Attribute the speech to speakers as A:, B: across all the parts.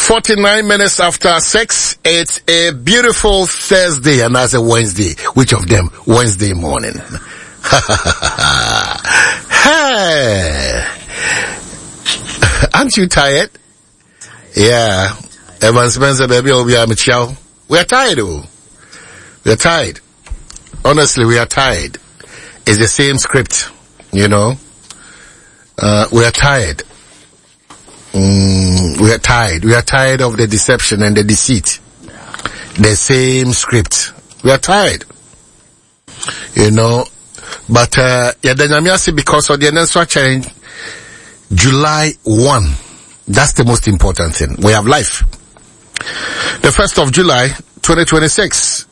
A: 49 minutes after 6. It's a beautiful Thursday and that's a Wednesday. Which of them? Wednesday morning. Hey. Aren't you tired? Yeah. Evan Spencer, baby, we are tired, oh. We are tired. Honestly, we are tired. It's the same script, you know. We are tired. We are tired. We are tired of the deception and the deceit. The same script. We are tired. You know. But, yɛda Nyame ase because of the nso akyɛn July 1. That's the most important thing. We have life. The 1st of July, 2026.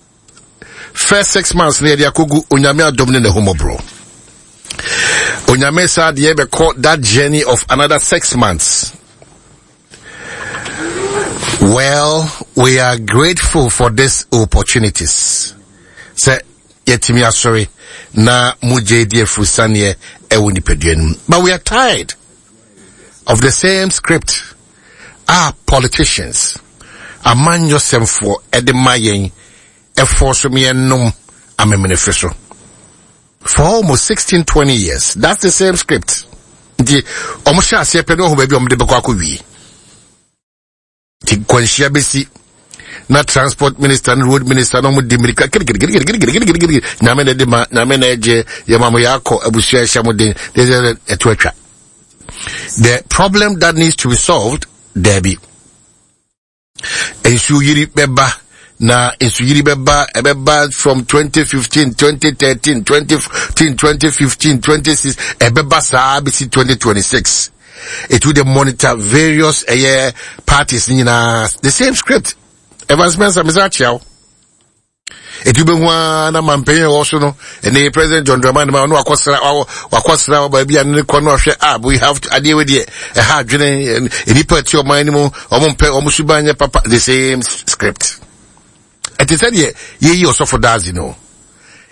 A: First 6 months ne yɛde akɔgu Onyame adom ne n'ahummɔborɔ. Onyame saa deɛ bɛkɔ that journey of another 6 months. Well, we are grateful for these opportunities. Sɛ yɛtumi asɔre na mogya di afurusaneɛ ɛwɔ nipadua no mu. But we are tired of the same script our politicians, amanyɔsɛmfoɔ ɛde ma yɛn ɛfɔ so yɛnom amemenefe so. For almost 16, 20 years, that's the same script. Nti, ɔmo hyɛ aseɛ pɛ ne ɔho baabi a ɔmo de bɛkɔ akɔ wie. Nti kwanhyia bɛsi na transport minister ne road minister na ɔmo di mirika kirikirikirikirikirikiri, Nyame na ɛde ma, Nyame na ɛgye, yɛma mo yɛakɔ abusua ɛhyɛ mo den, ɛto atwa. The problem that needs to be solved, daabi. Nsuo yiri bɛba na nsuyiri bɛba, ɛbɛba from 2015, 2013, 2014, 2015, 26, ɛbɛba saa bɛsi 2026. It will monitor various ɛyɛ parties nyinaa, the same script. Evans Spencer, mesa akyia wo. Eti wobɛhu ara na mampanyin a ɛwɔ so no, ɛne President John Dramani ma ɔno wakɔsra wakɔsra wɔ baabi a ne kɔ no ɔhwɛ a we have to adeɛ wei deɛ ɛha adwene, nnipa ɛte ɔman no mu, ɔmo mpɛ ɔmo suban nyɛ papa, the same script. Ɛte sɛ deɛ yɛyi ɔsɔfo daadze no.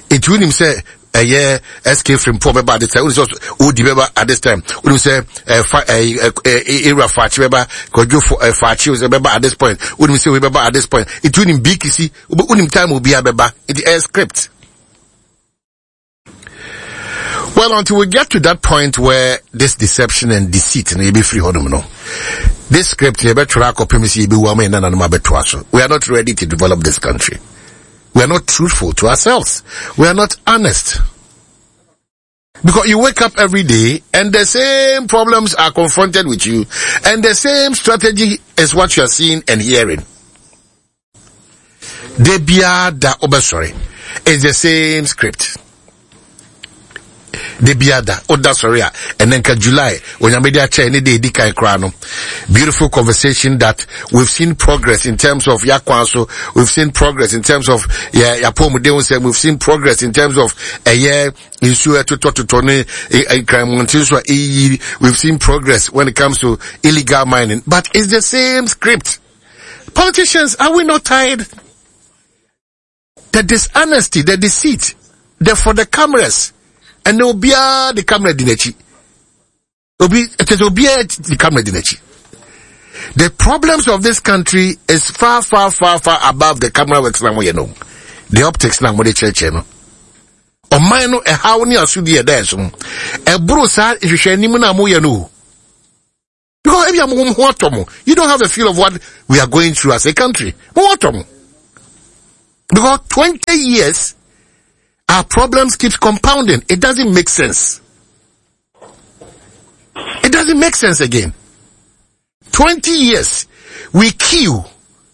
A: Eti wonim sɛ ɛyɛ SK Frimpong bɛba at this time, wonim sɛ odi bɛba at this time, wonim sɛ ɛfa ɛɛ ɛɛ ewura Faakye bɛba, Kwadwo Faakye sɛ bɛba at this point, wonim sɛ wei bɛba at this point. Eti wonim BKC, wonim time obiara bɛba. Eti ɛyɛ script. Well, until we get to that point where this deception and deceit no yɛbɛfiri hɔnom no, this script yɛbɛtwerɛ akɔpem sɛ yɛbɛwu ama yɛn nananom abɛtoa so. We are not ready to develop this country. We are not truthful to ourselves. We are not honest. Because you wake up every day and the same problems are confronted with you and the same strategy is what you are seeing and hearing. De biara da wobɛsɔre, it's the same script. De biara da woda sɔre a, ɛnɛ nka July Onyame de akyɛ ne de edi kan koraa no, beautiful conversation that we've seen progress in terms of yakwan so, we've seen progress in terms of yɛ yapɔmuden ho sɛm, we've seen progress in terms of ɛyɛ nsuo ɛtotɔtotɔ ne nkranmɔnten so a ɛyiyi, we've seen progress when it comes to illegal mining, but it's the same script. Politicians, are we not tired? The dishonesty, the deceit, the for the cameras, and obiara the camera di n'akyi. Obi ɛkyɛ sɛ obiara the camera di n'akyi. The problems of this country is far, far, far, far above the camera works na mo yɛ no, the optics na mo de kyerɛkyerɛ no. Ɔman no ɛhaw ne asodi ɛda ɛso no, ɛboro saa nhwehwɛ anim na mo yɛ no o. Because ebi a mo ho atɔ mo, you don't have a feel of what we are going through as a country. Mo ho atɔ mo. Because 20 years, our problems keep compounding. It doesn't make sense. It doesn't make sense again. 20 years, we queue,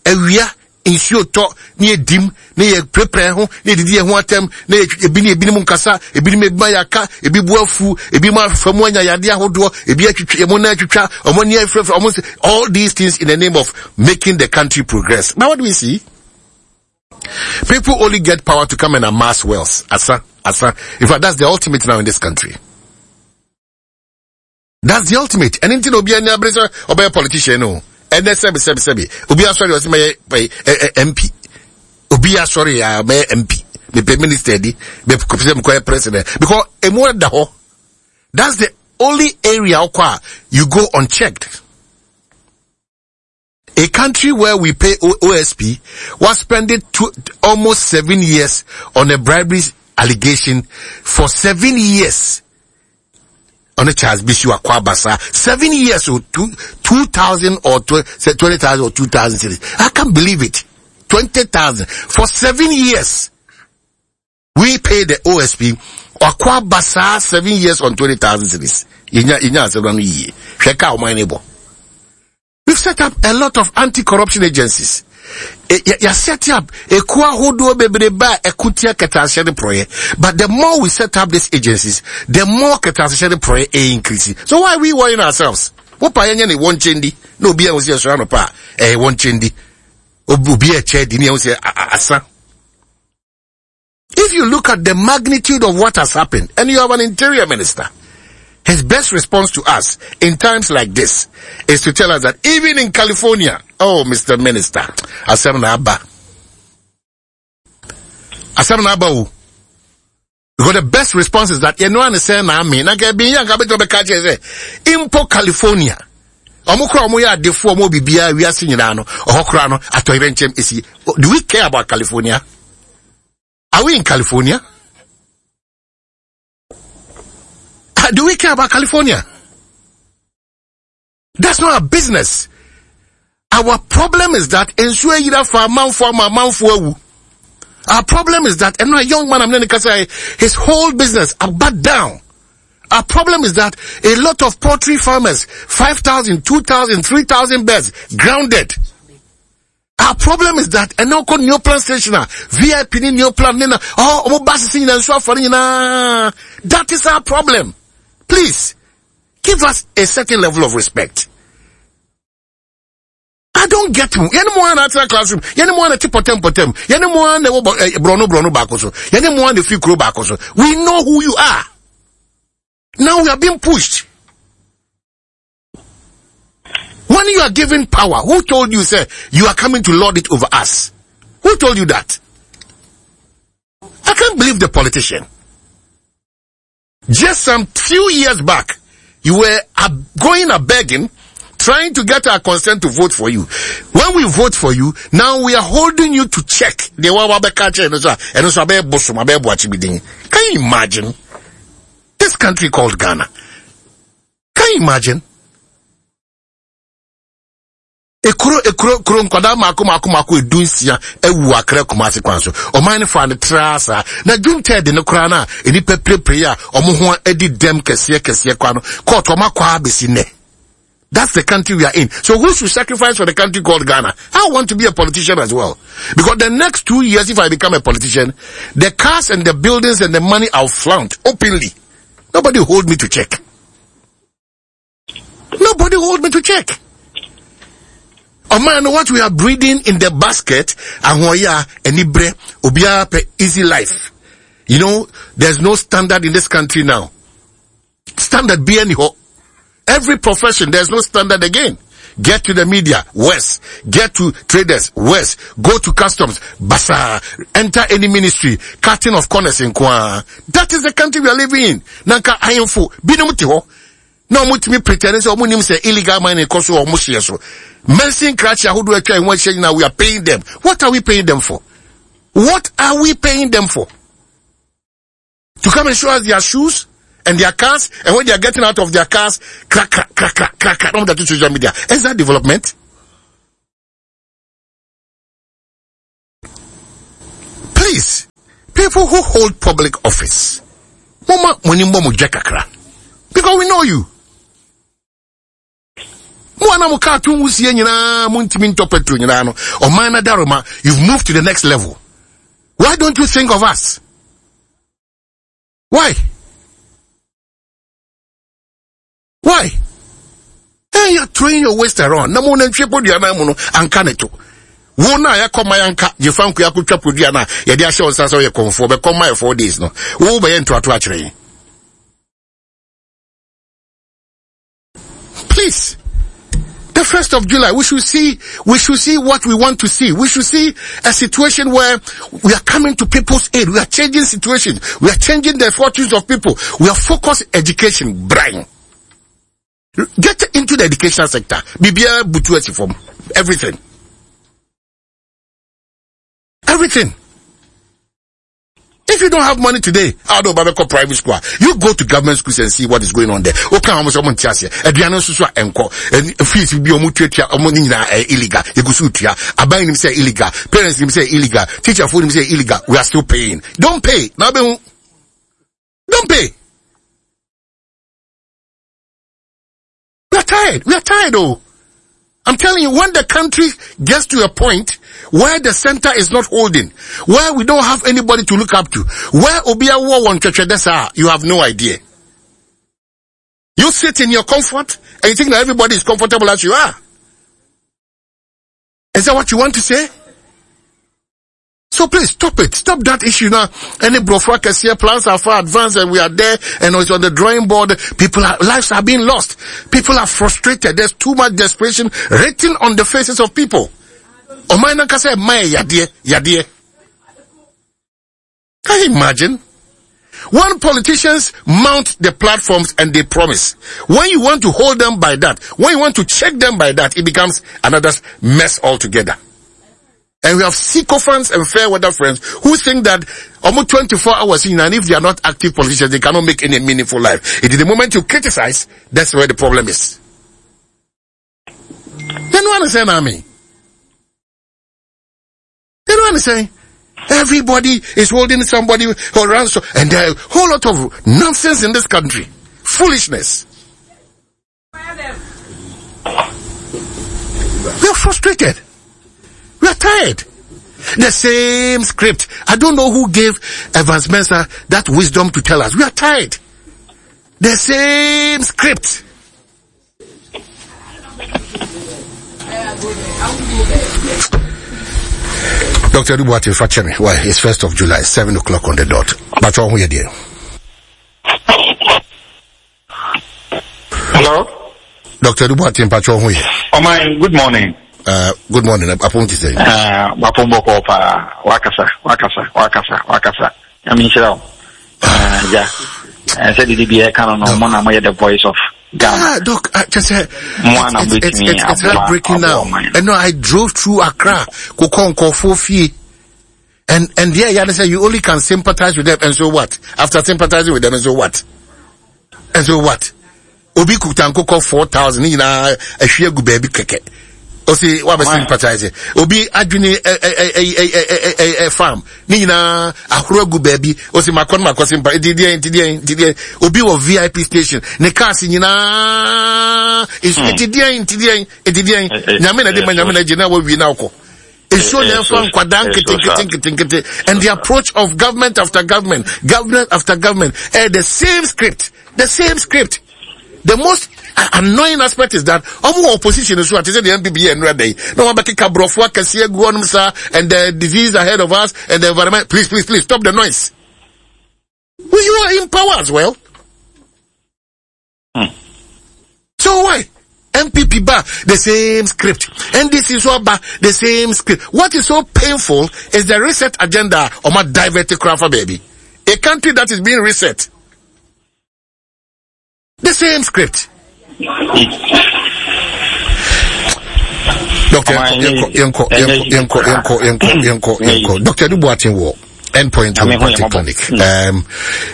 A: awia, nsuo tɔ ne yɛdim ne yɛ prepare ho ne yɛdidi yɛn ho atɛm ne yɛ ebi ne ebinom nkasa, ebinom ebi ma yɛaka, ebi bu afu, ebi ma afa mu anya yadeɛ ahodoɔ, ebi atwitwa ɔmo nan atwitwa, ɔmo ani afirafira ɔmo nse, all these things in the name of making the country progress. Now what do we see? People only get power to come and amass wealth. Asa, asa. In fact, that's the ultimate now in this country. That's the ultimate. And nti na obi ani abere sɛ ɔbɛyɛ politician no. Ɛnɛ sɛbi sɛbi sɛbi. Obi asɔre ɔsɛ mɛyɛ MP. Obi asɔre ya mɛyɛ MP. Mepɛ minister di. Mepɛ sɛ mekɔyɛ president. Because emu ɛda hɔ. That's the only area ɔkɔ a you go unchecked. A country where we pay OSP was spending almost 7 years on a bribery allegation for 7 years. Ɔne Charles Bissue akɔ abasa 7 years o, 2,000 or 20,000 or 2,000 cedis. I can't believe it. 20,000 for 7 years. We pay the OSP. Wakɔ abasa 7 years on 20,000 cedis. Yɛnya yɛnya asɛm no yie. Hwɛ kaa ɔman ne bɔ. We've set up a lot of anti-corruption agencies. Yɛ set up ekuo ahodoɔ bebrebe a ɛko tia kɛtɛasehyɛ ne porɔyɛ. But the more we set up these agencies, the more kɛtɛasehyɛ ne porɔyɛ ɛ increase. So why are we worrying ourselves? Wopa yɛnyɛ ne wɔn nkyɛn di na obi a wɔsi ɛsɔrɔ anɔpa a ɛyɛ wɔn nkyɛn di. Obi a ɛkyɛ di ne ɛho sɛ asa. If you look at the magnitude of what has happened, and you have an interior minister, his best response to us in times like this is to tell us that even in California, oh, Mr. Minister, asɛm na aba. Asɛm na aba o. Because the best response is that you know and say na me na ke bi yan ka beto be ka che say impo California. Ɔmo kora ɔmo yɛ adefo, ɔmo bibia wiase nyinaa no, ɔhɔ kora no atɔyerɛ nkyɛm esi. Do we care about California? Are we in California? Do we care about California? That's not our business. Our problem is that nsuo ayira fa amanfo ama amanfo awu. Our problem is that and a young man I'm not say his whole business about down. Our problem is that a lot of poultry farmers, 5,000, 2,000, 3,000 birds grounded. Our problem is that ɛnna ɔkɔ Neoplan station a VIP ni Neoplan ne na oh ɔmo ba sisi nyinaa nso afɔre nyinaa. That is our problem. Please give us a certain level of respect. I don't get you. Yɛne mo ana atena classroom. Yɛne mo ana te pɔtɛm pɔtɛm. Yɛne mo ana ɛwɔ borɔno borɔno baako so. Yɛne mo ana firi kuro baako so. We know who you are. Now we are being pushed. When you are given power, who told you, say, you are coming to lord it over us? Who told you that? I can't believe the politician. Just some few years back, you were going a begging, trying to get our consent to vote for you. When we vote for you, now we are holding you to check. Can you imagine? This country called Ghana. Can you imagine? Ekuro ekuro kuro nkwadaa mako mako mako 16 ewu Akra Kumase kwan so. Ɔman no fa ne tra saa na June 3rd ne koraa na nipa pirepire a ɔmo ho adi dɛm kɛseɛ kɛseɛ kwa no court ɔmo akɔ abɛsi nnɛ. That's the country we are in. So who should sacrifice for the country called Ghana? I want to be a politician as well. Because the next 2 years, if I become a politician, the cars and the buildings and the money I'll flaunt openly. Nobody hold me to check. Nobody hold me to check. Oh man, what we are breeding in the basket, ahoya, anibre, obiara pɛ easy life. There's no standard in this country now. Standard be any Every profession, there's no standard again. Get to the media, worse. Get to traders, worse. Go to customs, basa. Enter any ministry, cutting of corners in kwa. That is the country we are living in. Nanka ahemfo, binom te hɔ. Na ɔmo tumi pretend sɛ ɔmo nim sɛ illegal mining kɔ so ɔmo hyɛ so. Mansin krakye ahodoɔ atwa ɛho ahyia nyinaa, we are paying them. What are we paying them for? What are we paying them for? To come and show us their shoes and their cars, and when they are getting out of their cars, crack, crack, crack, crack, crack, crack, on the social media. Is that development? Please, people who hold public office, mama kakra, because we know you. Mo ana mo kaa to nwusie nyinaa, mo ntumi ntɔ petrol nyinaa no, ɔman na daroma, you've moved to the next level. Why don't you think of us? Why? Why? Hey, you're throwing your waste around. Na mo na ntwe podua na mu no anka ne to. Wo na yɛkɔ ma yanka gyefa nkoya akotwa podua na yɛde ahyɛ wo nsa sɛ woyɛ kɔmfoɔ bɛkɔ ma yɛ 4 days no. Wo bɛyɛ ntoato akyerɛ yɛn. Please. The 1st of July, we should see what we want to see. We should see a situation where we are coming to people's aid. We are changing situations. We are changing the fortunes of people. We are focused education. Brian. Get into the education sector. Bibia butu esi fam. Everything. Everything. If you don't have money today, I don't baba private school. You go to government schools and see what is going on there. Okay, I'm someone tiase. Aduane nso so a enko. Fees bi omu tuatua omu ni nyina illegal. Egusu tua. Aban nim say illegal. Parents nim say illegal. Teacher fo nim say illegal. We are still paying. Don't pay. Now be Don't pay. We are tired. We are tired, oh. I'm telling you, when the country gets to a point where the center is not holding, where we don't have anybody to look up to, where Obia you have no idea. You sit in your comfort and you think that everybody is comfortable as you are. Is that what you want to say? So please stop it. Stop that issue now. Any brofra here plans are far advanced and we are there and it's on the drawing board. People are, lives are being lost. People are frustrated. There's too much desperation written on the faces of people. Can you imagine? When politicians mount the platforms and they promise, when you want to hold them by that, when you want to check them by that, it becomes another mess altogether. And we have sycophants and fair weather friends who think that almost 24 hours in, and if they are not active politicians, they cannot make any meaningful life. It is the moment you criticize, that's where the problem is. They don't understand, Army. They don't understand. Everybody is holding somebody or ransom, and there are a whole lot of nonsense in this country. Foolishness. We are frustrated. We are tired. The same script. I don't know who gave Evans Mensah that wisdom to tell us. We are tired. The same script. Dr. Dubuati Fachemi, well, it's 1st of July, 7 o'clock on the dot. But all here, dear.
B: Hello?
A: Dr. Dubuati Mpacho here.
B: Oh my, good morning.
A: Good morning. Apon ti sɛ.
B: Wapon bɔkɔ paa. Wakasa, wakasa, wakasa, wakasa. Nyame nhyira wo. Ja. Sɛ didi bi ɛka no no, mo na moyɛ the voice of Ghana.
A: Ah, Doc, just say, it's heartbreaking now. And no, I drove through Accra, Kokon, Kofo, and yeah, yeah, they say you only can sympathize with them, and so what? After sympathizing with them, and so what? And so what? Obi kuta nkokɔ 4,000 nyinaa ahwie agu baabi kɛkɛ. Ɔsi wa bɛ sympathize. Obi adwene farm ne nyinaa ahoro agu baabi. Ɔsi makɔ no makɔ sympathize. Nti deɛ nti deɛ nti deɛ. Obi wɔ VIP station ne cars nyinaa nsu nti deɛ nti deɛ nti deɛ. Nyame na de ma nyame na gye na wawie na akɔ. Nsuo na ɛfa nkwadaa nketenkete nketenkete. And the approach of government after government, government after government, the same script. The same script. The most annoying aspect is that omo opposition is what is the NPP and red day. No one back kabrofo akese gu onum sa and the disease ahead of us and the environment. Please, please, please stop the noise. Well, you are in power as well. So why? NPP ba, the same script. NDC so ba, the same script. What is so painful is the reset agenda or my divert craft baby. A country that is being reset. The same script. Doctor, yanko. Doctor Dubuatin war. Endpoint Homeopathic Clinic.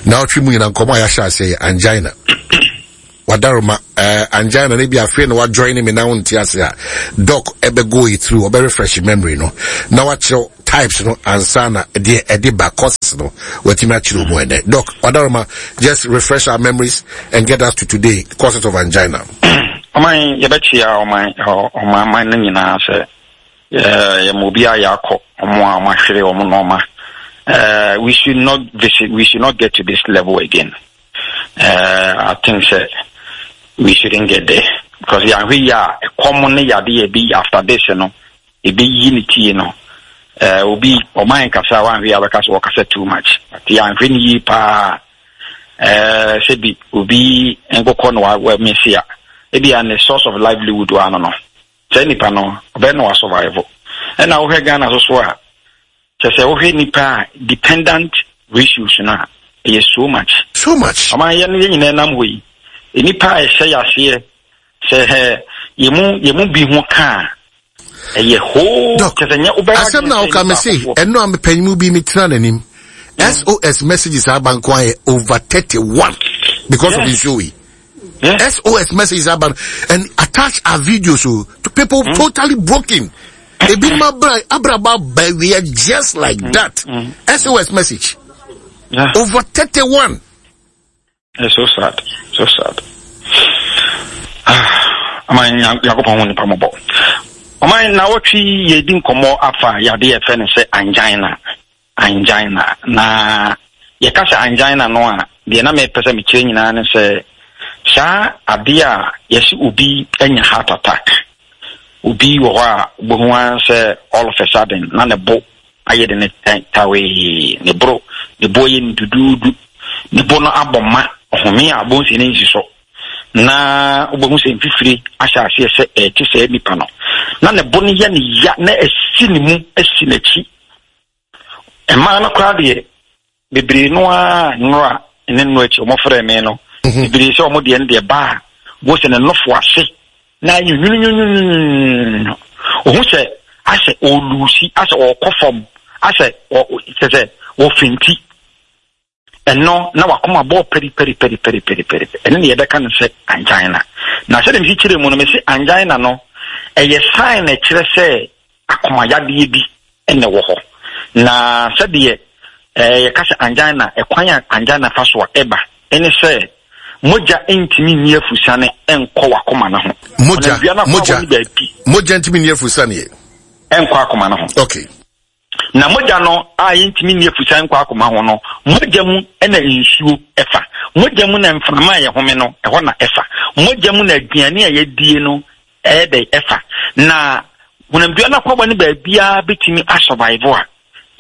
A: Now three mu nyina nkɔmɔ a yɛahyɛ ase angina. Wadaroma angina ne bi afei na wa join me na wonte ase a doc ebe go it through obe refresh memory no. Na wakyerɛ types no ansa na de ede ba causes no watimi akyerɛ mu ene. Doc Wadaroma, just refresh our memories and get us to today, causes of angina.
B: Oman yɛbɛkyia oman oman no nyinaa sɛ yɛ obi a yɛakɔ ɔmo a ɔmo ahwere ɔmo nɔɔma. We should not visit, we should not get to this level again. I think sɛ we shouldn't get there because yɛahwɛ yi a ɛkɔm ne yade yɛ bi after this no ebi yi ne tie no. Obi ɔman kasa wanhwɛ yi abɛka sɛ wɔkasa too much but yɛahwɛ ne yie paa. Sɛ bi obi nkokɔ no wa mesi a ebi a ne source of livelihood wa no no sɛ nipa no ɔbɛn no wa survive. Ɛna wohwɛ Ghana so so a kyɛ sɛ wohwɛ nipa a dependent ratios no a ɛyɛ so much.
A: So much.
B: Ɔman yɛn yɛn nyinaa nam hɔ yi nipa a ɛhyɛ yaseɛ sɛ yɛmu bi ho kaa. Ɛyɛ hoo
A: Doc,
B: kyɛ sɛ nyɛ wobɛyɛ
A: asɛm na woka me se ɛno a mepanyim bi metena n'anim. SOS messages aba nko ayɛ over 31 because of nsuo yi. SOS messages aba and attach our videos o to people totally broken. Ebinom abra abrabɔ aba awie just like that. SOS message. Over 31.
B: It's so sad, so sad. Ah, ɔman Nyankopɔn ho nipa mɔbɔ. Ɔman na wɔtwe yɛdi nkɔmmɔ afa yade yɛfrɛ no sɛ angina. Angina. Na yɛka sɛ angina no a, deɛ na mepɛ sɛ mekyerɛ nyinaa ne sɛ saa adeɛ a yɛse obi anya heart attack. Obi wɔ hɔ a wobɛhu ara sɛ all of a sudden na ne bo ayɛ de ne tawee, ne boro, ne bo ayɛ no duduudu, ne bo no abɔ ma, ɔhome a bonsi ne nsi so, na wobɛhu sɛ mfifire ahyɛ aseɛ sɛ ɛte saa nipa no, na ne bo no yɛ ne ya na asi ne mu asi n'akyi. Mmaa no koraa deɛ bebree no ara nnora ne nnora akyi wɔfrɛɛ me no bebree sɛ wɔn deɛ no deɛ baa wɔn sɛ ne nofo ase na ayɛ nwununwununwunu ohun sɛ asɛ ɔlusi asɛ ɔkɔ fam asɛ ɔ kyɛ sɛ wɔfinti ɛno na wakoma bɔɔ pɛri pɛri pɛri pɛri pɛri pɛri ɛno ne yɛbɛka no sɛ angina na sɛdeɛ mesi kyerɛ mu no mesi angina no ɛyɛ sign na ɛkyerɛ sɛ Akomayadeɛ bi na ɛwɔ hɔ. Na sɛdeɛ yɛka sɛ angina, ɛkwan a angina fa so a ɛba ne sɛ mogya ntumi nni afusane nkɔ w'akoma no ho.
A: Mogya, mogya, mogya ntumi nni afusane.
B: Nkɔ akoma no ho.
A: Okay.
B: Na mogya no a yɛntumi nni afusane nkɔ akoma ho no, mogya mu na nsuo ɛfa. Mogya mu na mframa a yɛhome no, ɛhɔ na ɛfa. Mogya mu na aduane a yɛdie no Ɛyɛ dɛn ɛfa? Na honamdua no akwaba no baabiara bɛtumi asɔvaivo a,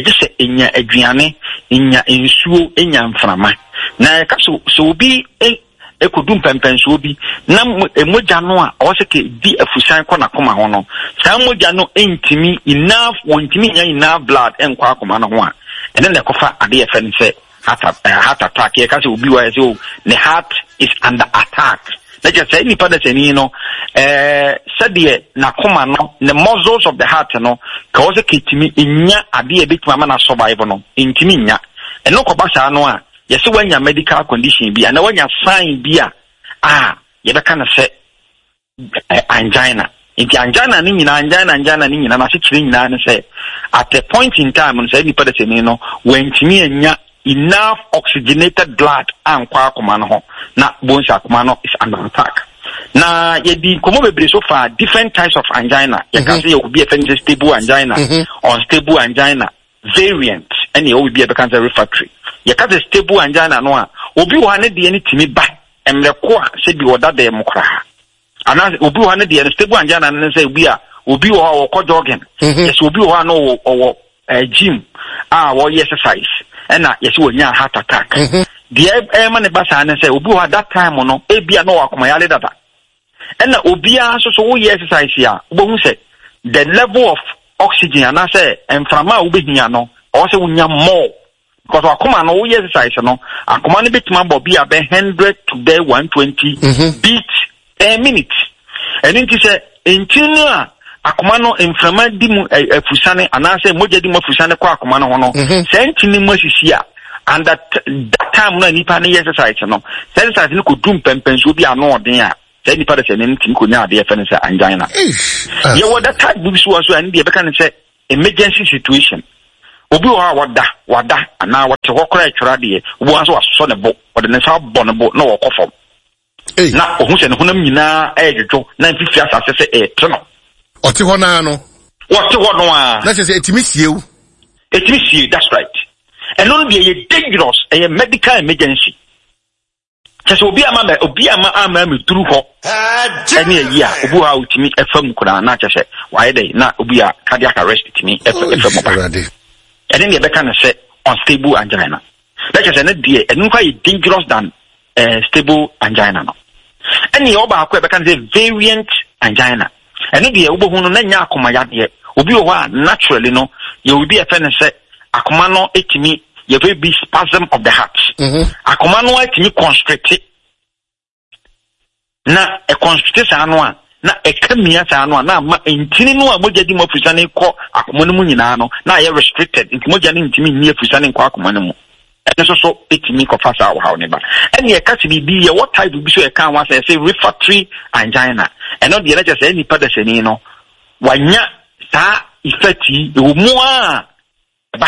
B: ɛgye sɛ ɛnya aduane, ɛnya nsuo, ɛnya mframa. Na yɛka sɛ sɛ obi ɛkɔdu mpɛmpɛnsoɔ bi na mogya no a ɔwɔ sɛ kɛdi afusan kɔ n'akoma ho no, saa mogya no ntumi enough, wɔntumi nya enough blood nkɔ akoma no ho a, ɛno na ɛkɔfa adeɛ yɛfrɛ no sɛ heart eh, heart attack. Yɛka sɛ obi wɔ ayɛ sɛ oh, ne heart is under attack. Na kyerɛ sɛ nipa dasani no eh, sɛdeɛ n'akoma no, ne muscles of the heart no, ka wɔ sɛ kɛtumi nya adeɛ a ɛbɛtumi ama no survive no, ntumi nya. Ɛno kɔba saa no a, yɛsɛ wanya medical condition bi anaa wanya sign bi a a yɛbɛka no sɛ angina. Nti angina no nyinaa, angina, angina no nyinaa, n'asekyerɛ nyinaa ne sɛ, at a point in time no, saa nipa dasani no, wantumi anya enough oxygenated blood ankɔ akoma no ho, na bohu sɛ akoma no is under attack. Na yɛdi nkɔmmɔ bebree so fa different types of angina. Yɛka sɛ yɛwɔ bi a yɛfrɛ no sɛ stable angina, unstable angina, variant, ɛne yɛwɔ biribi a yɛbɛka sɛ refractory. Yɛka sɛ stable angina no a, obi wɔ ha ne deɛ no tumi ba mmerɛ ko a sɛ bi ɔda dan mu koraa anaasɛ obi wɔ ha ne deɛ no stable angina no ne sɛ obi a obi wɔ hɔ a ɔkɔ jogging mhm. yɛsɛ obi wɔ hɔ a na ɔwɔ ɔwɔ eh, gym a wɔyɛ exercise ɛna yɛsɛ wɔnya heart attack mhm. deɛ ɛma ne ba saa ne sɛ obi wɔ hɔ that time no ebi a na ɔwɔ akomayale dada ɛna obiara nso so woyɛ exercise a wobɛhu sɛ the level of oxygen anaasɛ mframa a wobɛhia no ɔwɔ sɛ wonya more Because akoma no woyɛ exercise no akoma no betumi abɔ bi a bɛ hundred to bɛ 120 mhm. beat per minute. Ɛno nti sɛ ntini no a akoma no mframa di mu afusane anaasɛ mogya di mu afusane kɔ akoma no ho no mhm. saa ntini mu asisi a and that that time no a nipa no yɛ exercise no saa exercise no kɔdu mpɛmpɛnsoɔ bi ano ɔden a saa nipa de sɛ ne ntumi kɔnya adeɛ fɛ no sɛ angina. Yɛwɔ that type bi so wɔ so a ɛno deɛ yɛbɛka no sɛ Emergency situation, Obi wɔ hɔ a wada, wada anaa ɔte hɔ koraa retwerɛ adeɛ, wobɛhu ara sɛ wasosɔ ne bo, ɔde ne nsa abɔ ne bo na ɔrekɔ fam. Na ɔhu sɛ ne honam nyinaa ɛredwodwo na mfifiri asase sɛ ɛrete no.
A: Ɔte hɔ naa no.
B: Ɔte hɔ no ara.
A: Na kyerɛ sɛ ɛtumi sie wo.
B: Ɛtumi sie, that's right. Ɛno no deɛ ɛyɛ dangerous, ɛyɛ medical emergency. Kyɛ sɛ obi ama mɛ obi ama ama mɛ duru hɔ ɛne ayi a obi wɔ hɔ a otumi ɛfa mu koraa na kyɛ sɛ wayɛ dɛ na obi a cardiac arrest tumi ɛfa ɛfa mu ba ɛne deɛ ɛbɛka no sɛ unstable angina na kyɛ sɛ ne deɛ ɛno nfa yɛ dangerous than uh, stable angina no ɛne yɛ ɔbaako a ɛbɛka no sɛ variant angina Ɛno deɛ wobɛhu no na nyɛ akoma yadeɛ. Obi wɔ hɔ a naturally no yɛwɔ bi a yɛfrɛ no sɛ akoma no tumi yɛfrɛ bi spasm of the heart. Mm-hmm. Akoma no atumi constricte na ɛconstricte saa no a na ɛka mia saa no a, na ama ntini no a mogya di mu afusane kɔ akoma no mu nyinaa no, na ayɛ restricted, nti mogya no ntumi nni afusane nkɔ akoma no mu. Ɛno nso so ɛtumi kɔfa saa ɔhaw no ba. Ɛne ɛka sɛ biribi, yɛwɔ type bi so ɛka ho asɛ ɛsɛ refractory angina. Ɛno deɛ na kyerɛ sɛ nipa dasani no, wanya saa effect yi, ɛwɔ mu a, Ba,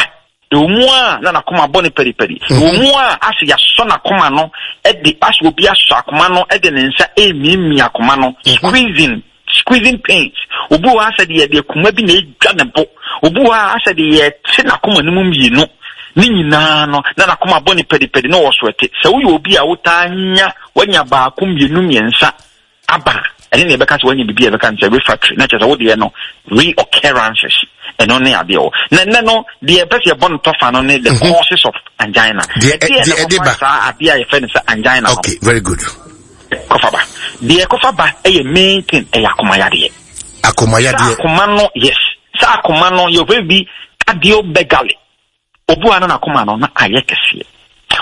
B: ɛwɔ mu a na n'akoma bɔ no paripari. Ɛwɔ mu a ase yɛasɔ n'akoma no de, ase obi asɔ akoma no de ne nsa remiamia akoma no, squeezing, squeezing pains. Obi wɔ hɔ asɛ deɛ deɛ kuma bi na edwa ne bo. Obi wɔ hɔ asɛ deɛ yɛte n'akoma no mu mmienu. Ne nyinaa no, na n'akoma bɔ no paripari na ɔwɔ so ɛte. Sɛ woyɛ obi a wotaa nya, wanya baako, mmienu, mmiɛnsa, aba a, ɛne nea ɛbɛka sɛ wanya biribi a ɛbɛka no sɛ refractory, na kyerɛ sɛ wo deɛ no reoccurrences, ɛno ne adeɛ wɔ. Na ɛnnɛ no, deɛ ɛpɛ sɛ yɛbɔ no tɔfa no ne the mhm. causes of angina.
A: Deɛ ɛde ba.
B: Saa adeɛ a yɛfrɛ no sɛ angina no.
A: Okay, very good.
B: Kɔfa ba. Deɛ ɛkɔfa ba ɛyɛ main thing ɛyɛ akomayadeɛ.
A: Akomayadeɛ.
B: Sɛ akoma no, yes. Sɛ akoma no, yɛfrɛ bi cardiomegaly. Obi wɔ hɔ a na n'akoma no na ayɛ kɛseɛ.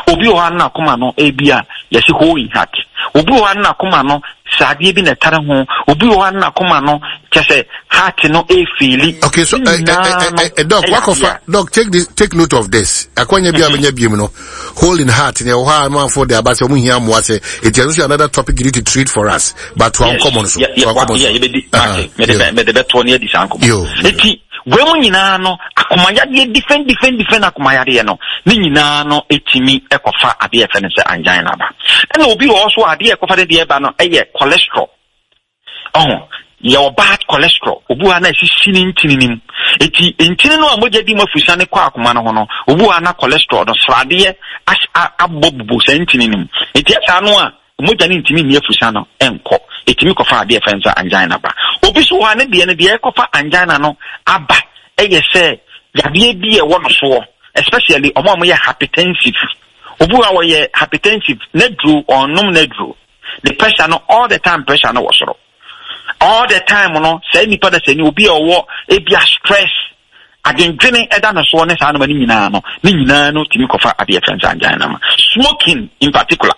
B: Obi wɔ hɔ a na n'akoma no ebi a yɛsi hole in heart. Obi wɔ hɔ a na n'akoma no sradeɛ bi na ɛtare ho. Obi wɔ hɔ a na n'akoma no kyɛ sɛ heart no efeeli.
A: Okay, so uh, uh, uh, doc, wakɔfa doc take this take note of this. Akwanya bi a bɛnya biem no hole in heart ne ɛwɔ hɔ a amanfoɔ de aba sɛ wɔn hia mmoa sɛ eti ɛno nso another topic you need to treat for us. But to ankɔmɔ no so.
B: To ankɔmɔ so. Yɛbɛdi mate mede bɛtoɔ ne adi saa nkɔmɔ. Eti Wei mu nyinaa no, akomayadeɛ different different different akomayadeɛ no, ne nyinaa no ɛtumi ɛkɔfa adeɛ ɛfɛ no sɛ angina ba. Ɛna obi wɔ hɔ so adeɛ ɛkɔfa ne deɛ ba no ɛyɛ cholesterol. Ɔho, yɛwɔ bad cholesterol, obi wɔ ha na ɛsisi ne ntini no mu. Eti ntini no a mogya di mu afusane kɔ akoma no ho no, obi wɔ ha na cholesterol no sradeɛ abɔ bubu saa ntini no mu. Eti ɛsaa no a, Mogya no ntumi nni afusa no nkɔ. Ɛtumi kɔfa adeɛ a yɛfrɛ no sɛ angina ba. Obi nso wɔ hɔ a ne deɛ no, deɛ ɛkɔfa angina no aba yɛ sɛ yadeɛ bi a ɛwɔ no soɔ, especially wɔn a wɔyɛ hypertensive. Obi wɔ hɔ a ɔyɛ hypertensive, n'aduro, ɔnnom n'aduro. Ne pressure no, all the time pressure no wɔ soro. All the time no, saa nipa no sɛ ni obi a ɔwɔ ebia stress, adwendwene ɛda no soɔ ne saa nnoɔma no nyinaa no, ne nyinaa no tumi kɔfa adeɛ yɛfrɛ no sɛ angina ma. Smoking in particular.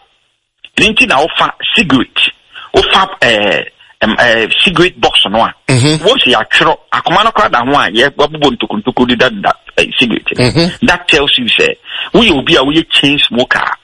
B: Ɛno nti na wofa cigarette, wofa ɛɛ eh, eh, cigarette box no a, mhm. wɔn sɛ yɛatwerɛ akoma no koraa da ho a yɛabobɔ ntokontoko deda deda eh, cigarette. Mhm. That tells you sɛ woyɛ obi a woyɛ chain smoker a,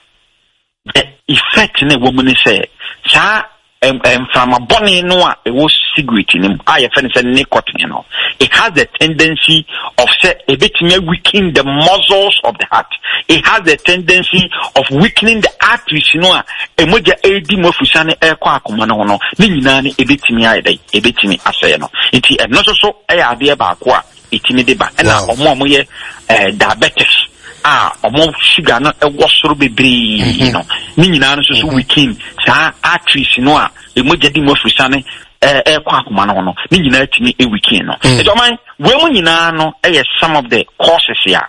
B: the effect na ɛwɔ mu ne sɛ saa mframa bɔne no a ɛwɔ cigarette no mu a yɛfrɛ no sɛ nicotine no, it has the tendency of sɛ ɛbɛtumi weaken the muscles of the heart. It has the tendency of weakening the arteries no a ɛmogya ɛredi mu afusane ɛrekɔ akoma no ho no, ne nyinaa no ɛbɛtumi ayɛ dɛn? Ɛbɛtumi asɛe no. Nti ɛno nso so ɛyɛ adeɛ baako a ɛtumi de ba. Ɛna ɔmo a wɔyɛ eh, diabetes a ɔmo sugar no ɛwɔ soro bebree mhm. no, ne nyinaa no nso so mhm. weaken saa arteries no a ɛmogya di mu afusane ɛrekɔ akoma no ho no, ne nyinaa tumi weaken no. Mm. Nti ɔman, wei mu nyinaa no ɛyɛ some of the causes a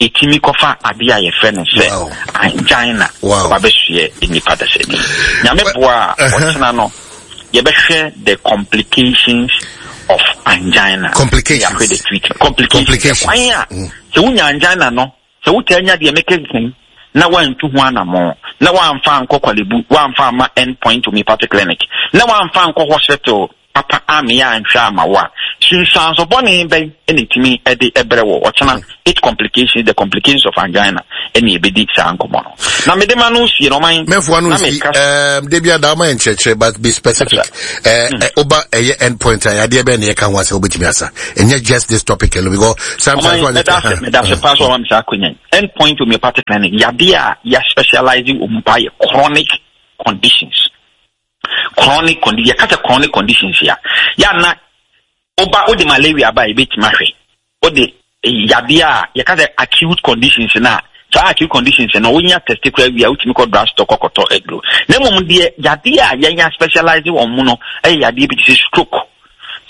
B: ɛtumi kɔfa adeɛ a yɛfrɛ no sɛ angina wabɛsoɛ nnipa dasani. Nyame boa a ɔkyena no yɛbɛhwɛ the complications of angina.
A: Complications.
B: Yɛahwɛ the treatment. Complications. Kwan a mm. sɛ wonya angina no, sɛ wotaa nya deɛ meka nsɛm na woantu ho anammɔn, na woamfa ankɔ Korle-Bu, woamfa amma End Point Homeopathic Clinic, na woamfa ankɔ hospital papa ammeyɛ anhwɛ amma wo a, sunsuanso bɔne bɛn na ɛtumi de brɛ wo? Ɔkyena, it complications, the complications of angina, ɛne yɛbɛdi saa nkɔmmɔ no. Na mede ma no sie no, ɔman,
A: Mɛfoa no
B: na
A: nsi,
B: meka
A: um, da bi ada woma yɛ nkyerɛkyerɛ, but be specific. Eh, eh, woba ɛyɛ end point a, yadeɛ bɛn na yɛka ho asɛ wobɛtumi asa? Ɛnyɛ just this topic alone, because sometimes
B: ɔman,
A: one
B: mɛda ase, mɛda ase paa sɛ ɔma me saa akwanya yi. End Point Homeopathic Clinic, yadeɛ a yɛ specialize wɔ mu paa yɛ chronic conditions. Chronic condition, yɛka sɛ chronic conditions a, yɛ ana woba wode malaria ba a yɛbɛtumi ahwɛ. Wode yadeɛ a yɛka sɛ acute conditions no a, saa acute conditions no wonya test koraa wie a wotumi kɔ drug store kɔkɔtɔ aduro. Na mmom deɛ yadeɛ a yɛnya specialize wɔn mu no yɛ yadeɛ bi te sɛ stroke.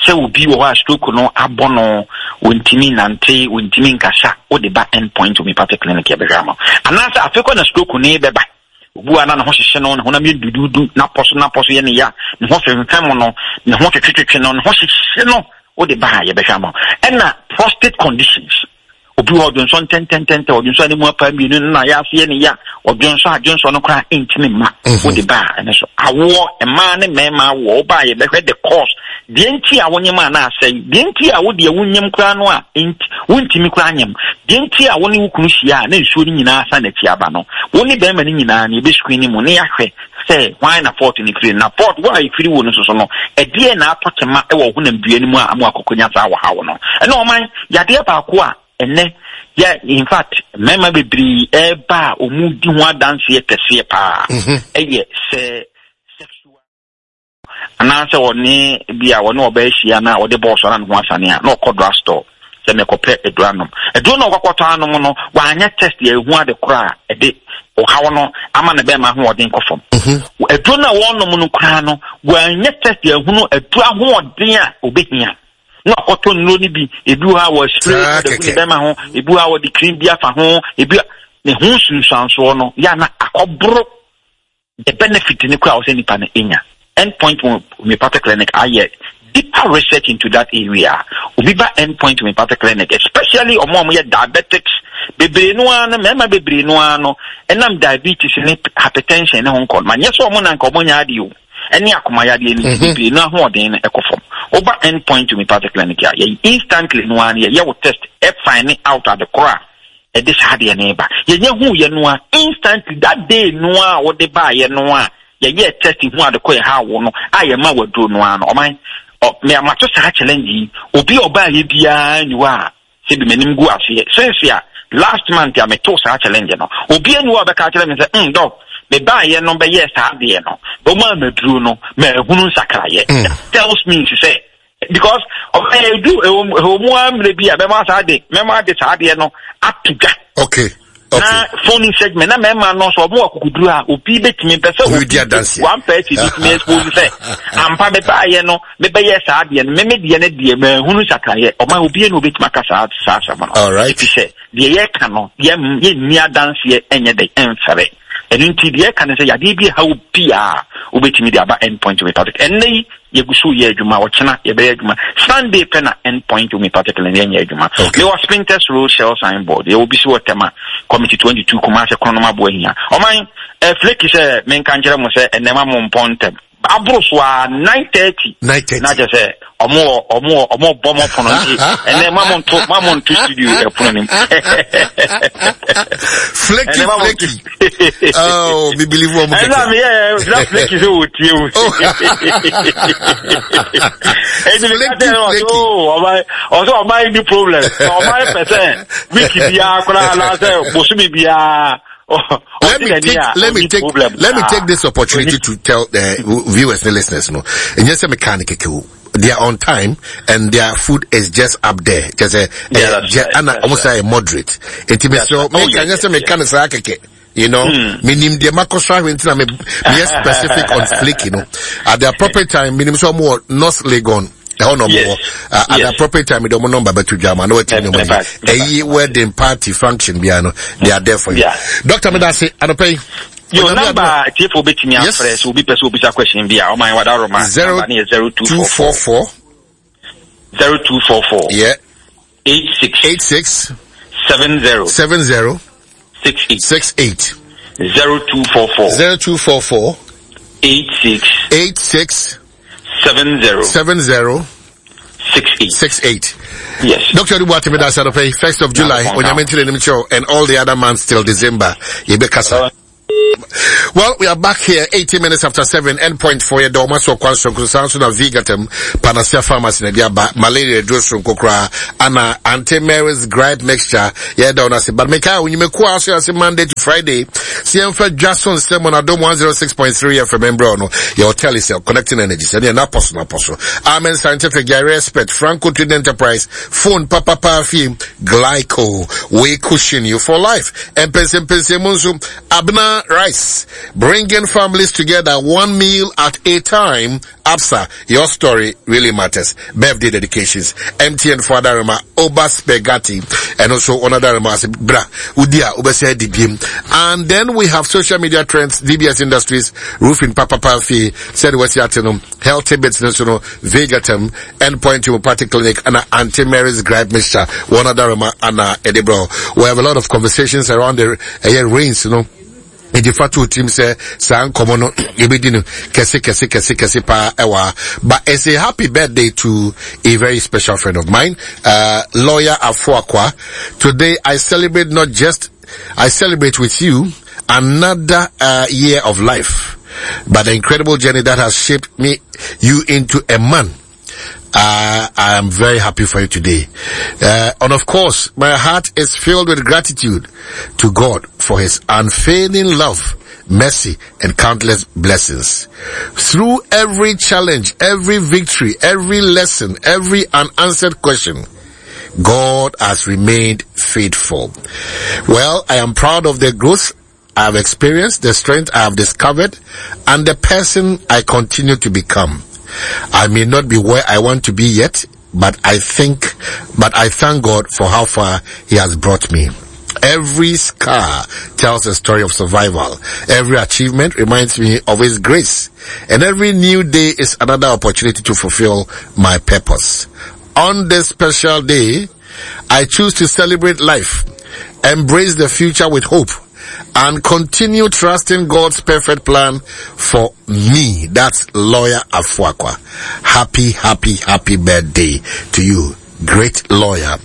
B: Sɛ obi wɔ hɔ a stroke no abɔ no, wɔntumi nante, wɔntumi nkasa, wode ba End Point Homeopathic Clinic yɛbɛhwɛ ama wo. Anaasɛ afei kɔ na stroke no bɛba. Obi wɔ hɔ a na ne ho hyehye no, ne honam yɛ duduudu, n'apɔ so n'apɔ so yɛ ne ya, ne ho femfam no, ne ho twetwetwetwe no, ne ho hyehye no, wode ba a yɛbɛhwɛ ama wo. Ɛna prostate conditions. Obi wɔ hɔ ɔdwonsɔ ntɛntɛntɛntɛ, ɔdwonsɔ a ne mu apa mmienu no na yɛ aseɛ ne ya, ɔdwonsɔ a dwonsɔ no koraa ntumi mma. Mhm. Wode ba a ɛno so. Awoɔ, mmaa ne mmarima awoɔ, woba a yɛbɛhwɛ the cause. Deɛ nti a wonyem a na asɛe, deɛ nti a wodeɛ wonyem koraa no a wontumi koraa nyem, deɛ nti a wo ne wo kunu hyia a na nsuo no nyinaa san n'akyi aba no, wo ne bɛrima no nyinaa no yɛbɛ screen mu ne yɛahwɛ sɛ hwan na fault no firi na fault wo a ɛfiri wo no soso no ɛdeɛ na atɔ kyema wɔ honam dua no mu a ama akɔkɔnya saa wɔhaw no. Ɛna ɔman yadeɛ baako a ɛnɛ yɛ in fact mmarima bebree ɛreba a wɔn di ho adanseɛ kɛseɛ paa mhm. ɛyɛ sɛ sexual anaasɛ ɔne bi a ɔne ɔbaa ahyia na ɔde bɔɔso na ne ho asane a na ɔkɔ drug store sɛ mekɔpɛ aduro anom. Aduro no a ɔkɔkɔtɔ anom no, wanyɛ test yɛ ehu ade korɔ a ɛde ɔhaw no ama ne bɛrima ahoɔden kɔ fam. Mhm. Aduro no a wɔnom no koraa no, wanyɛ test yɛ ehunu aduro ahoɔden a obehia. Na ɔkɔtɔ nnuro no bi, ebi wɔ hɔ a wɔaspray ɔde gu ne bɛrima ho, ebi wɔ hɔ a wɔde cream bi afa ho, ebi ne ho nsunsuansoɔ no yɛ na akɔboro the benefit no koraa a ɔsɛ nipa no nya. End Point Homeopathic Clinic ayɛ deeper research into that area. Obi ba End Point Homeopathic Clinic, especially ɔmo a wɔyɛ diabetics, bebree no ara no, mmarima bebree no ara no, ɛnam diabetes ne hypertension ne ho nkɔ no, ma nyɛ sɛ ɔmo na nka ɔmo nya adeɛ o, ɛne akoma yadeɛ no mhm. bebree no ahoɔden no ɛkɔ fam. Woba End Point Homeopathic Clinic a, yɛ instantly no ara no yɛyɛ wo test, ɛfind out ade korɔ a ɛde saa adeɛ no reba. Yɛnya huu yɛ no a, instantly, that day no a wode baeɛ no a, yɛyɛɛ test hu ade kɔ ɛha wo no a yɛma waduro no ara no, ɔman, ɔ, me amato saa challenge yi, obi a ɔbaeɛ biara nni hɔ a, sɛbi m'anim gu aseɛ, since a last month a metoo saa challenge no, obi ani hɔ a ɔbɛka akyerɛ me sɛ, mm, dɔk, mebaeɛ no bɛyɛɛ saa adeɛ no, wɔmaa maduro no, mahunu nsakraeɛ. Mm. That tells me sɛ, because ɔbɛyɛ edu ɛwɔ mu ara mmerɛ bi a mɛma saa de mɛma de saa adeɛ no ato dwa.
A: Okay.
B: Okay. Na phone segment na mɛma no so ɔmo akukuduru a obi betumi pɛ sɛ obi one person betumi expose sɛ ampa mɛbaayɛ no mɛbɛyɛ saa adeɛ no mɛmɛ deɛ no deɛ mɛhunu sakrayɛ ɔma obi na obetumi aka saa saa asɛm no.
A: Alright.
B: Efi sɛ deɛ yɛka no yɛ yɛnni adanseɛ ɛnyɛ dɛ ɛnfɛrɛ ɛno nti deɛ yɛka no sɛ yadeɛ bi ɛha obi a wobɛtumi de aba end point homeopathic ɛnnɛ yi Yɛgu so reyɛ adwuma, ɔkyena yɛbɛyɛ adwuma. Sunday pɛ na End Point Homeopathic Clinic yɛnyɛ adwuma.
A: Okay.
B: Mewɔ Spintex Road Shell signboard. Yɛwɔ bi so wɔ Tema, Committee 22, Kumasi, Kronom Aboahia. Ɔman, eh, Flake sɛ menka nkyerɛ mo sɛ ɛnnɛ ma mo mpɔn ntɛm. Aboro so a 9:30.
A: 9:30.
B: Na kyerɛ sɛ ɔmo wɔ ɔmo wɔ ɔmo bɔ mo pono nti ɛnɛ ma mo nto ma mo nto studio ɛpono nim.
A: Flaky flaky. Oh, me believe wɔn
B: kɛkɛ. Ɛnna mi yɛ na flaky sɛ o tie o. Ɛdi mi ka kyerɛ ɔsɛ o ɔman ɔsɛ ɔman ni problem ɔman pɛ sɛ wiki biara koraa anaasɛ bosomi biara.
A: Let me take let me take let me take this opportunity to tell the viewers and listeners no. Ɛnyɛ sɛ mechanic kɛkɛ o. They are on time and their food is just up there. Just a, yeah, that's right, and almost right. moderate. It me so me can just me can say keke. You know, me nim deɛ makɔ so ahwɛ nti na me yɛ specific on flake, you know. At the appropriate time, me nim so more North Legon. ɛhɔ na ɔmo wɔ at the appropriate time de ɔmo number bɛto dwa ama na wɔatumi ne ɔmo yi ɛyi wedding party function biara no they are there for you. Doctor medase anɔpɛ yi.
B: Yo, number tiefo betumi afrɛ sɛ obi pɛ sɛ obisa question bi a ɔman wada roma number ne yɛ
A: 0244
B: 0244
A: yeah
B: 86
A: 86
B: 70
A: 70
B: 68
A: 68
B: 0244
A: 0244
B: 86
A: 86
B: 70
A: 70
B: 68
A: 68
B: Yes.
A: Dr. Adu Boateng Medase Anɔpa yi, 1st of July, Onyame ntene nim kyɛw, and all the other months till December. Yɛbɛkasa. Well, we are back here 18 minutes after 7, end point for your doma so kwan so nso na Vigatem Panacea Pharmacy na dia malaria duro so nkokra ana Auntie Mary's gripe mixture yeah down ase but make out you make ase Monday to Friday si yɛmfa dwa so nsɛm on Adom 106.3 FM mbrɛ no yɛ hotel is connecting energy sɛ neɛ napɔ so napɔ so Amen Scientific Yare Expert Franco Trading Enterprise phone papapa fie Glyco we cushion you for life mpɛnsɛmpɛnsɛ mu nso Abena right. Rice, bringing families together one meal at a time. Absa, your story really matters. Birthday dedications, MTN Fadarema, Oba Spaghetti, and also another Bra, Udia, Obese Dibim. And then we have social media trends, DBS Industries, Roofing Papa Palfi, said West Healthy Bits National, Vegatem, Endpoint Homeopathic Clinic, and Auntie Mary's Gripe Mixture, one other Anna Edibro. We have a lot of conversations around the rains, you know. Nti fa to tirim sɛ saa nkɔmɔ no yɛbɛdi no kɛse kɛse kɛse kɛse paa ɛwɔ ha. But it's a happy birthday to a very special friend of mine, lawyer Afuakwa. Today I celebrate not just, I celebrate with you another year of life, but the incredible journey that has shaped me, you into a man. I am very happy for you today. And of course, my heart is filled with gratitude to God for his unfailing love, mercy, and countless blessings. Through every challenge, every victory, every lesson, every unanswered question, God has remained faithful. Well, I am proud of the growth I have experienced, the strength I have discovered, and the person I continue to become. I may not be where I want to be yet, but I thank God for how far he has brought me. Every scar tells a story of survival. Every achievement reminds me of his grace. And every new day is another opportunity to fulfill my purpose. On this special day, I choose to celebrate life, embrace the future with hope, and continue trusting God's perfect plan for me. That's Lawyer Afuakwa. Happy, happy, happy birthday to you. Great lawyer,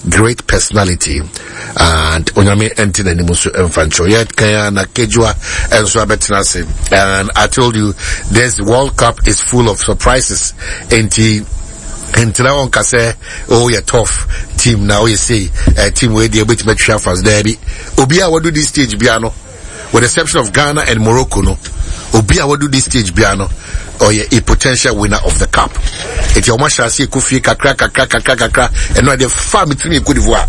A: great personality, and Onyame enti na nimusu emfancho. Yet kaya na kejua enso abetenase. And I told you this World Cup is full of surprises. Enti ntena wɔn kasa, oh yɛ tough team na oh yɛ say team wei deɛ obetumi atwa fast daabi. Obi a wadu this stage bia no, with the exception of Ghana and Morocco no, obi a wadu this stage bia no, ɔyɛ a potential winner of the cup. Eti ɔmo ahyɛ ase ekɔ fie kakra kakra kakra kakra, ɛno adeɛ fa mi tirim Cote d'Ivoire,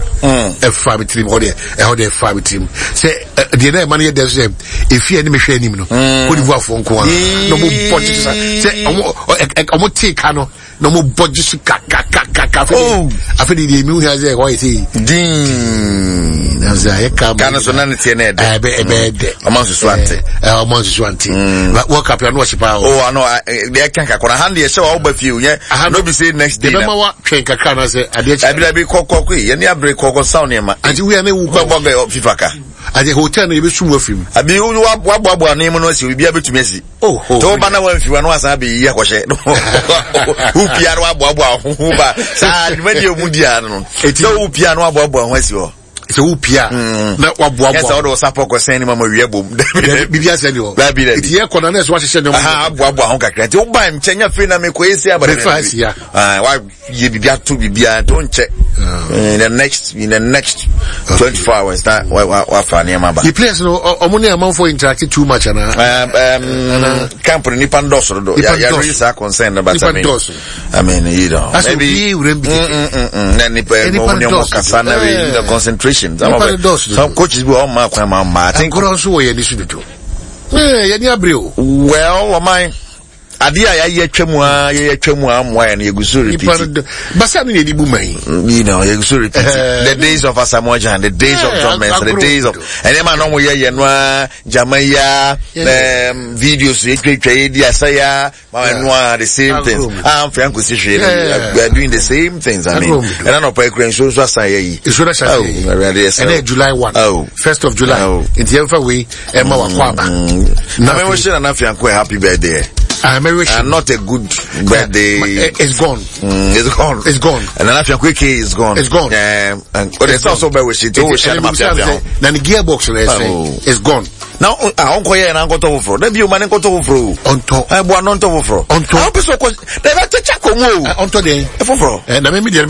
A: ɛfa mi tirim hɔ deɛ, ɛhɔ deɛ ɛfa mi tirim sɛ deɛ na ɛma no yɛ dɛ sɛ efi ɛne mehwɛ anim no, Cote d'Ivoire fo nko ara na ɔmo bɔ tete sa sɛ ɔmo tee ka no na ɔmo bɔ gye so kakakakaka. Afei de deɛ emi hu sɛ ɛhɔ yɛ sɛ
C: din
A: na sɛ ayɛ ka
C: ka no so na ne teɛ na ɛdɛ
A: ɛbɛ ɛbɛ dɛ
C: ɔmo nsusu ante
A: ɔmo nsusu ante World Cup yɛ ano ɔhye paa o.
C: Oh ano deɛ ɛka kakra ha deɛ hyɛ wa ɔba fie o yɛ no bi say next day
A: na ɛbɛma wa twɛn kakra na sɛ adeɛ kyɛ
C: ɛbi dabi kɔkɔ koyi yɛn ni abere kɔkɔ saw nneɛma
A: ati wuya ne wu
C: kɔ bɔ FIFA ka
A: ati hotel no ebi sum wɔ firi mu
C: abi wa boaboa nneɛma no asi obi abɛtumi asi.
A: Oh, oh.
C: Sɛ woba na wamfi wa na wasan abɛyiyi akɔhyɛ. Wopia na waboaboa ho ho ba. Saa dwumadi a ɔmu di ano no. Sɛ wopia na waboaboa ho asi hɔ.
A: Sɛ wopia na waboaboa.
C: Yɛ sɛ wode wo sapɔ kɔsɛn ne ma ma wia bom.
A: Biribi asɛ ni hɔ.
C: Dabi dabi.
A: Eti yɛ kɔ na na ɛsɛ wahyehyɛ nneɛma.
C: Aha aboaboa ho kakra. Nti woba nkyɛn nya afei na mekɔ esi aba.
A: Mefa asi ya.
C: Ah, wa yɛ biribi ato biribi a nti wonkyɛ. In the next 24 hours na wafa nneɛma ba.
A: The players no ɔmo ne amanfoɔ interact too much ana.
C: Camp no nipa ndɔɔso dodo. Yɛ yɛ saa concern no but I mean I mean you know.
A: Maybe obi wura bi
C: keke. Na nipa ɔmo ne ɔmo kasa na the concentration. Some of the some coaches bi ɔmo ma kwan ma ɔmo ma. I think.
A: Agorɔ nso wɔ yɛn ni so dodo. Yɛn ni abere o.
C: Well ɔman. Adeɛ a yɛayɛ atwa mu ara yɛyɛ atwa mu ara mmoa yɛn no yɛgu so repeat.
A: Nipa no basa no na yɛde bu man yi.
C: You know yɛgu so repeat. The days of Asamoah Gyan, the days of John Mensah, the days of ɛnneɛma na wɔn yɛ yɛ no ara gyama yi ara videos yɛtwatwa yɛ di asa yi ara ma ɛno ara the same things. Ah nfɛ nkosi hwee no we are doing the same things I mean ɛna nɔpɔ ekura nsuo nso asan yɛ yi.
A: Nsuo asan yɛ yi. Ɛnɛ July 1. 1st of July. Nti yɛn fa wei. Emma Wakwaba.
C: Na me wish Nana Fianko a happy birthday.
A: I wish
C: not a good birthday.
A: It's gone.
C: It's gone.
A: It's gone.
C: And Nana Fianko AK is gone.
A: It's gone.
C: And oh, there's also be wish it. Oh, wish Nana Fianko.
A: Na the gearbox is gone.
C: Now, ah, unko ye na nkoto foforo. Na bi o ma ne nkoto foforo.
A: Onto.
C: Eh, bo no nto foforo.
A: Onto.
C: Ah, opeso ko. Da ba techa ko mu o.
A: Onto den.
C: Foforo.
A: Eh, na me me de.